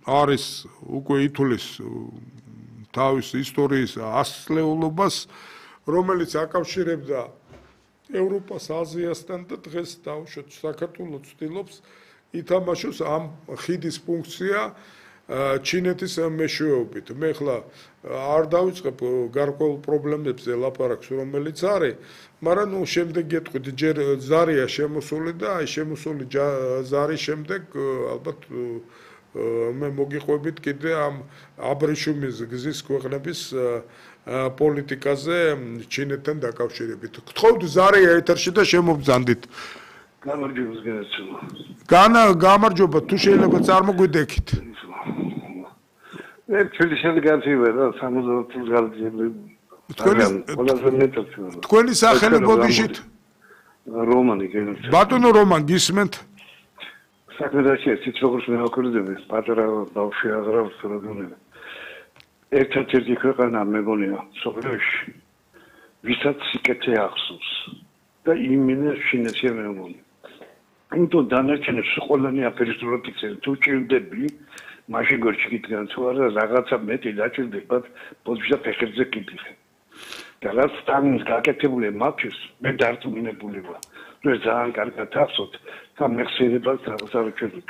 არის უკვე ითulis თავის ისტორიის ასწლეულობას, რომელიც აკავშირებდა ევროპას, აზიასთან და დღეს დაუშვათ საქართველოს ცდილობს ითამაშოს ამ ხიდის ფუნქცია ჩინეთის მეშვეობით. მე ხლა არ დავიწყებ გარკვეულ პრობლემებზე ლაპარაკს, რომელიც არის, მაგრამ შემდეგ გეტყვით, ჯერ ზარია შემოსული და აი შემოსული ზარის შემდეგ ალბათ მე მოგიყვებით კიდე ამ აბრეშუმის გზის ქვეყნების პოლიტიკაზე ჩინეთთან დაკავშირებით. გთხოვთ ზარია ეთერში და შემობძანდით. გამარჯობა, თუ შეიძლება წარმოგვიდექით. თქვენი სახელი ბოდიშით? რომანი. ბატონო რომან, გისმენთ? საქმედაში ისიც როგორც მე ვაკურდები, პატარა ბავშვი აღრავს რადგან ერთ-ერთი ქვეყანა მეგონია სოფლიოში, ვისაც სიკეთე ახსოვს და იმინე შინაში მეგონია. იმიტომ დანარჩენებს ყველანი აფერისტურად იქცენ, თუ ჭირდები, მაშინ გორჩი გიდგან თუ არა რაღაცა მეტი დაჭირდებათ, პოზიცია ფეხებზე კიდიხე. და რაც სტალინის გაკეთებული მათთვის, მე დარწმუნებული ვარ. თუ ძალიან კარგად ახსოვთ, და მეხსიერებას რაღაცა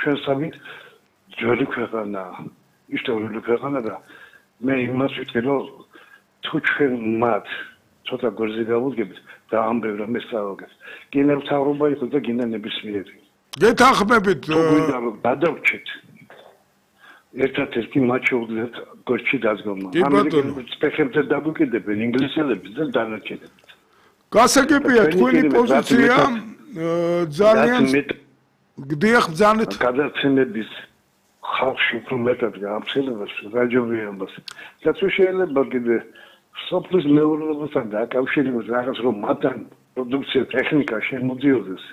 ჩვენ სამით ძველი ქვეყანა, ისტორიული ქვეყანა და მე იმას ვიტყვი, რომ თუ ჩვენ მათ ცოტა გორზე გავუდგებით და ამბებ რომ მესწავლეთ. გინდა მთავრობა იყოს და გინდა ნებისმიერი. გეთანხმებით გადავრჩეთ. ერთადერთი მათ შეუძლიათ გორჩი დადგომა. ამერიკელებს ფეხებზე დაგვიკიდებენ ინგლისელები და დანარჩენები. გასაგებია თქვენი პოზიცია ძალიან გდიახ ბძანეთ გადაცემების ხალხში უფრო მეტად გაამცელებას რაჯობიანობას. და თუ შეიძლება კიდე სოფლის მეურნეობასთან დაკავშირებით რაღაც რომ მათთან პროდუქცია ტექნიკა შემოდიოდეს.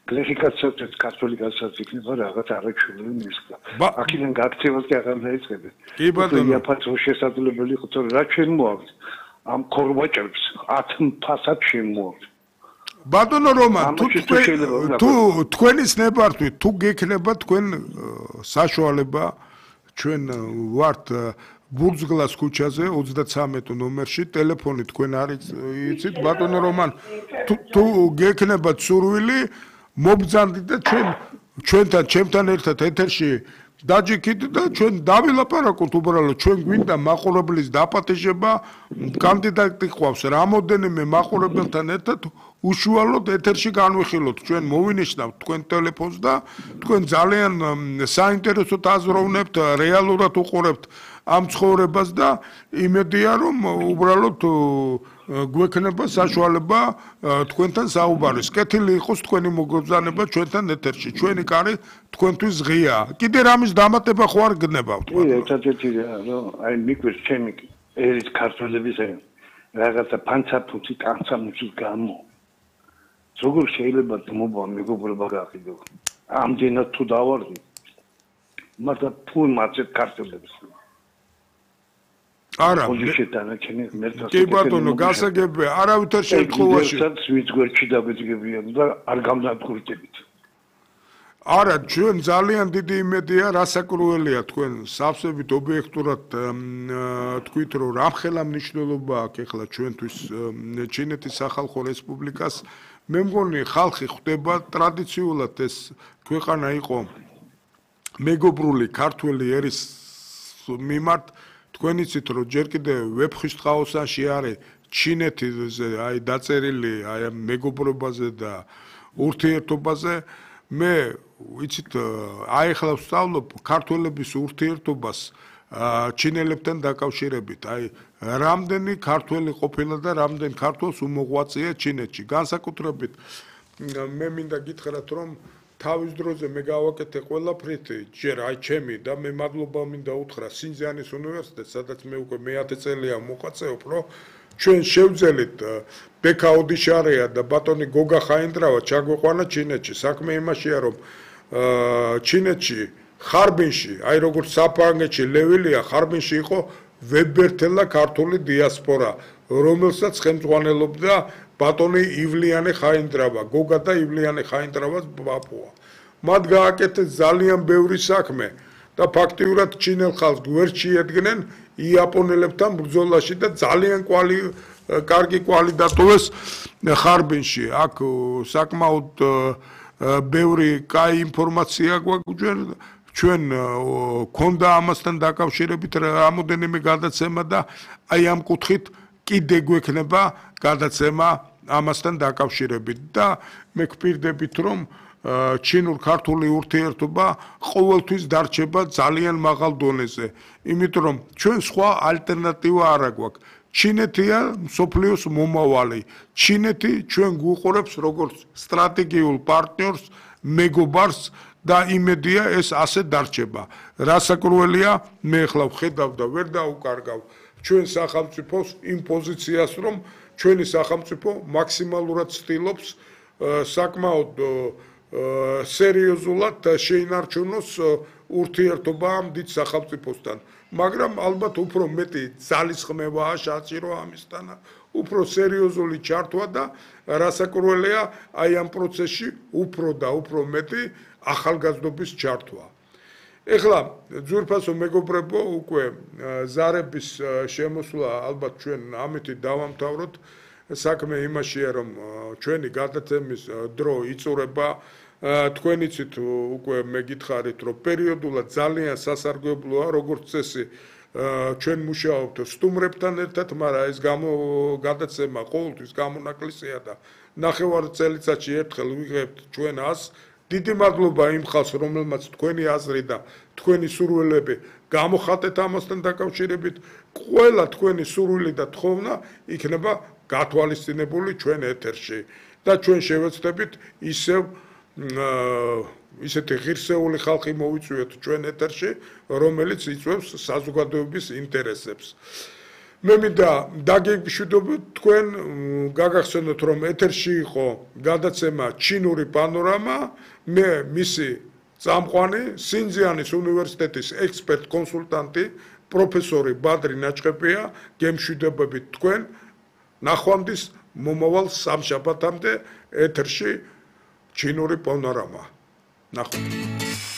გლეხიკაცაც ქართული კაცაც იქნება რაღაც არაჩვეული მისკა. აქედან გაქცევას კი აღარ დაიწყებენ. კი ბატონო. იაფაც შესაძლებელი იყო თორე რა ჩვენ მოაქვს ამ ქორვაჭებს 10 ფასად შემოაქვს. ბატონო რომან, თუ თქვენის ნებართვით, თუ გექნება თქვენ საშუალება, ჩვენ ვართ ბურძგლას ქუჩაზე 33 ნომერში, ტელეფონი თქვენ არის იცით, ბატონო რომან, თუ გექნებათ სურვილი, მობძანდით და ჩვენთან, ჩემთან ერთად ეთერში დაჯიქით და ჩვენ დავილაპარაკოთ უბრალოდ, ჩვენ გვინდა მაყურებლის დაპატეჟება, კანდიდატი ყავს რამოდენიმე მაყურებელთან ერთად უშუალოდ ეთერში განვიხილოთ, ჩვენ მოვინიშნავთ თქვენ ტელეფონს და თქვენ ძალიან საინტერესოდ აზროვნებთ, რეალურად უყურებთ ამ ცხოვრებას და იმედია რომ უბრალოდ გვექნება საშუალება თქვენთან საუბარის. კეთილი იყოს თქვენი მოგზაურობა ჩვენთან ეთერში. ჩვენი კარი თქვენთვის ღია. კიდე რამის დამატება ხო არ გნებავთ? ერთადერთი რომ აი მიკვირს ჩემი ერის ქართველების რაღაცა ფანცაფუცი კანცამუცის გამო. როგორ შეიძლება მოვა მეგობრობა გაყიდო? ამდენად თუ დავარდი. მაგრამ თუ მათეთ ქართველებს არა კი ბატონო გასაგებია არავითარ შემთხვევაში ვინც გვერდში დაგვიძგებიან და არ გამდაკვირდებით არა ჩვენ ძალიან დიდი იმედია რასაკურველია თქვენ სავსებით ობიექტურად თქვით რომ რამხელა მნიშვნელობა აქვს ეხლა ჩვენთვის ჩინეთის სახალხო რესპუბლიკას მე მგონი ხალხი ხვდება ტრადიციულად ეს ქვეყანა იყო მეგობრული ქართველი ერის მიმართ თქვენ იცით რომ ჯერ კიდევ ვეფხისტყაოსანში არის ჩინეთზე აი დაწერილი აი ამ მეგობრობაზე და ურთიერთობაზე მე იცით აი ახლა ვსწავლობ ქართველების ურთიერთობას ჩინელებთან დაკავშირებით აი რამდენი ქართველი ყოფილა და რამდენი ქართველს უმოღვაწეა ჩინეთში განსაკუთრებით მე მინდა გითხრათ რომ თავის დროზე მე გავაკეთე ყველაფრით ჯერ აი ჩემი და მე მადლობა მინდა უთხრა სინძიანის უნივერსიტეტს სადაც მე უკვე მე-10 წელია მოღვაწეობ რომ ჩვენ შევძელით ბექა ოდიშარია და ბატონი გოგა ხაინდრავა ჩაგვეყვანა ჩინეთში საქმე იმაშია რომ ჩინეთში ხარბინში აი როგორც საფრანგეთში ლევილია ხარბინში იყო ვებერთელა ქართული დიასპორა რომელსაც ხელმძღვანელობდა ბატონი ივლიანე ხაინდრავა გოგა და ივლიანე ხაინდრავას ბაბუა მათ გააკეთეს ძალიან ბევრი საქმე და ფაქტიურად ჩინელ ხალხს გვერდ შეედგნენ იაპონელებთან ბრძოლაში და ძალიან კარგი კვალი დატოვეს ხარბინში. აქ საკმაოდ ბევრი კაი ინფორმაცია გვაქვს ჩვენ ქონდა ამასთან დაკავშირებით რამოდენიმე გადაცემა და აი ამ კუთხით კიდე გვექნება გადაცემა ამასთან დაკავშირებით და მე გვპირდებით რომ ჩინურ-ქართული ურთიერთობა ყოველთვის დარჩება ძალიან მაღალ დონეზე, იმიტომ რომ ჩვენ სხვა ალტერნატივა არ აგვაქვს. ჩინეთია მსოფლიოს მომავალი. ჩინეთი ჩვენ გვუყურებს როგორც სტრატეგიულ პარტნიორს, მეგობარს და იმედია ეს ასე დარჩება. რასაკვირველია, მე ახლა ვხედავ და ვერ დაუკარგავ ჩვენ სახელმწიფოს იმ პოზიციას, რომ ჩვენი სახელმწიფო მაქსიმალურად ცდილობს საკმაოდ სერიოზულად შეინარჩუნოს ურთიერთობა ამ დიდ სახელმწიფოსთან. მაგრამ ალბათ უფრო მეტი ძალისხმევაა საჭირო ამისთან, უფრო სერიოზული ჩართვა და რასაკვირველია აი ამ პროცესში უფრო და უფრო მეტი ახალგაზრდობის ჩართვა. ეხლა ძვირფასო მეგობრებო, უკვე ზარების შემოსვლა ალბათ ჩვენ ამით დავამთავროთ. საქმე იმაშია, რომ ჩვენი გადაცემის დრო იწურება. თქვენიცით უკვე მე გითხარით, რომ პერიოდულად ძალიან სასარგებლოა, როგორც წესი, ჩვენ მუშაობთ სტუმრებთან ერთად, მაგრამ ეს გადაცემა ყოველთვის გამონაკლისია და ნახევარ წელიწადში ერთხელ ვიღებთ ჩვენ 100. დიდი მადლობა იმ ხალხს, რომელმაც თქვენი აზრი და თქვენი სურვილები გამოხატეთ ამასთან დაკავშირებით. ყველა თქვენი სურვილი და თხოვნა იქნება გათვალისწინებული ჩვენ ეთერში და ჩვენ შევეცდებით ისეთი ღირსეული ხალხი მოვიწვიოთ ჩვენ ეთერში, რომელიც იწვევს საზოგადოების ინტერესებს. მე მინდა დაგეგმშვიდობთ თქვენ, გაგახსენოთ რომ ეთერში იყო გადაცემა ჩინური პანორამა, მე მისი წამყვანი სინძიანის უნივერსიტეტის ექსპერტ კონსულტანტი პროფესორი ბადრი ნაჭყებია, გემშვიდობებით თქვენ ნახვამდის მომავალ სამშაბათამდე ეთერში ჩინური პანორამა. ნახვამდის.